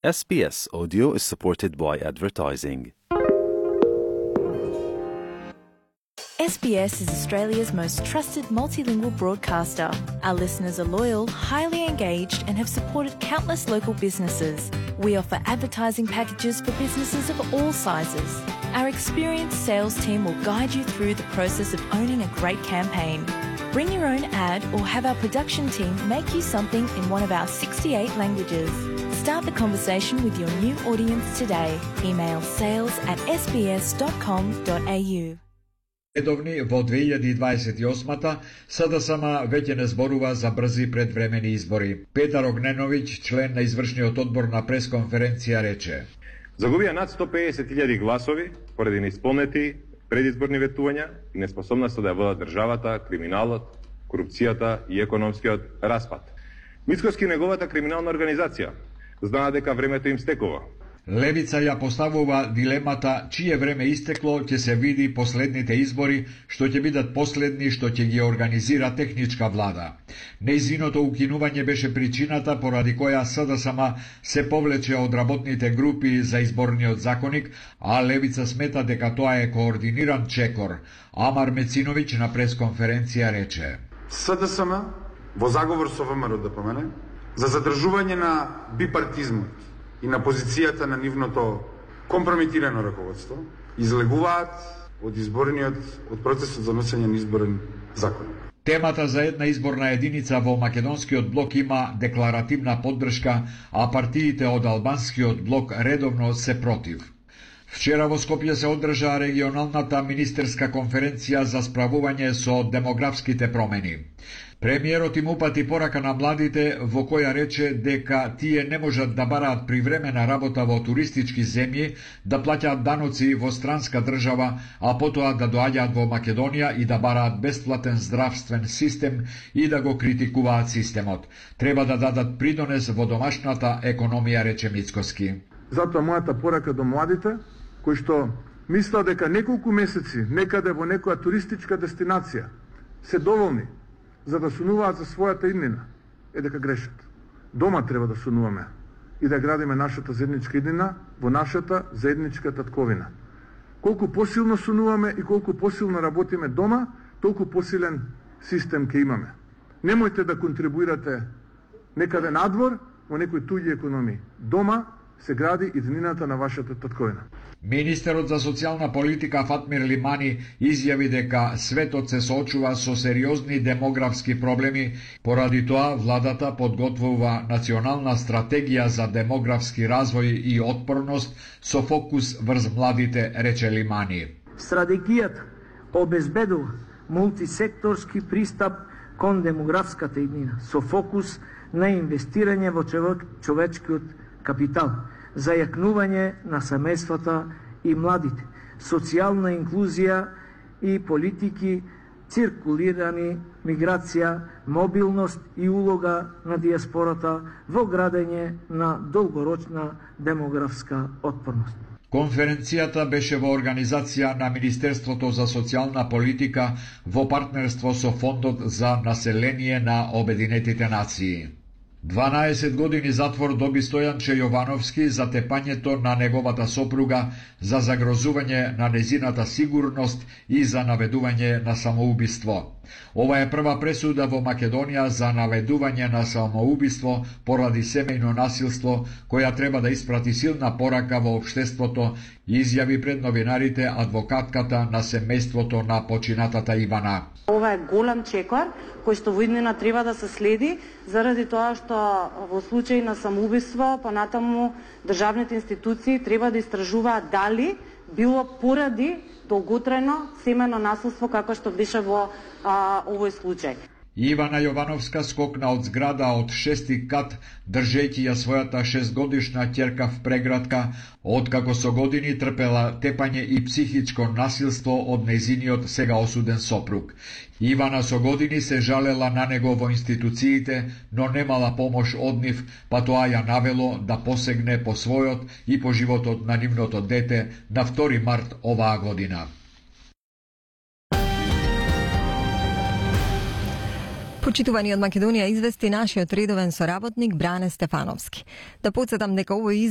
SBS Audio is supported by advertising. SBS is Australia's most trusted multilingual broadcaster. Our listeners are loyal, highly engaged, and have supported countless local businesses. We offer advertising packages for businesses of all sizes. Our experienced sales team will guide you through the process of owning a great campaign. Bring your own ad or have our production team make you something in one of our 68 languages. Start the conversation with your new audience today. Email sales@sbs.com.au. Редовни во 2028-та СДСМ веќе не зборува за брзи предвремени избори. Петар Огненовиќ, член на извршниот одбор на пресконференција, рече: Загубија над 150.000 гласови поради неисполнети предизборни ветувања и неспособноста да ја водат државата, криминалот, корупцијата и економскиот распад. Мицкоски неговата криминална организација знаа дека времето им стекува. Левица ја поставува дилемата чие време истекло ќе се види последните избори, што ќе бидат последни што ќе ги организира техничка влада. Нејзиното укинување беше причината поради која СДСМ се повлече од работните групи за изборниот законник, а Левица смета дека тоа е координиран чекор. Амар Мециновиќ на пресконференција рече: СДСМ во заговор со ВМРО ДПМН за задржување на бипартизмот и на позицијата на нивното компрометирано раководство излегуваат од процесот за носење на изборен закон. Темата за една изборна единица во македонскиот блок има декларативна поддршка, а партиите од албанскиот блок редовно се против. Вчера во Скопје се одржа регионалната министерска конференција за справување со демографските промени. Премиерот им упати порака на младите во која рече дека тие не можат да бараат привремена работа во туристички земји, да плаќаат даноци во странска држава, а потоа да доаѓаат во Македонија и да бараат бесплатен здравствен систем и да го критикуваат системот. Треба да дадат придонес во домашната економија, рече Мицкоски. Затоа мојата порака до младите, кои што мислат дека неколку месеци некаде во некоја туристичка дестинација се доволни за да сонуваат за својата иднина, е дека грешат. Дома треба да сонуваме и да градиме нашата заедничка иднина во нашата заедничка татковина. Колку посилно сонуваме и колку посилно работиме дома, толку посилен систем ќе имаме. Немојте да контрибуирате некаде надвор во некои туѓи економии. Дома се гради иднината на вашата татковина. Министерот за социјална политика Фатмир Лимани изјави дека светот се соочува со сериозни демографски проблеми, поради тоа владата подготвува национална стратегија за демографски развој и отпорност со фокус врз младите, рече Лимани. Стратегијата обезбедува мултисекторски пристап кон демографската иднина со фокус на инвестирање во човечкиот капитал, за јакнување на семејствата и младите, социјална инклузија и политики, циркулирани миграција, мобилност и улога на диаспората во градење на долгорочна демографска отпорност. Конференцијата беше во организација на Министерството за социјална политика во партнерство со Фондот за население на Обединетите нации. 12 години затвор доби Стојанче Јовановски за тепањето на неговата сопруга, за загрозување на незината сигурност и за наведување на самоубиство. Ова е прва пресуда во Македонија за наведување на самоубиство поради семејно насилство, која треба да испрати силна порака во општеството, изјави пред новинарите адвокатката на семејството на починатата Ивана. Ова е голем чекор кој што во иднина треба да се следи, заради тоа што во случај на самоубиство понатаму државните институции треба да истражуваат дали било поради долготрајно семено насилство како што беше во овој случај. Ивана Јовановска скокна од зграда од 6-ти кат, држејќи ја својата 6-годишна ќерка в преградка, откако со години трпела тепање и психичко насилство од нејзиниот сега осуден сопруг. Ивана со години се жалела на него во институциите, но немала помош од нив, па тоа ја навело да посегне по својот и по животот на нивното дете на 2 март оваа година. Почитувани од Македонија извести нашиот редовен соработник Бране Стефановски. Да потсетам дека овој извештај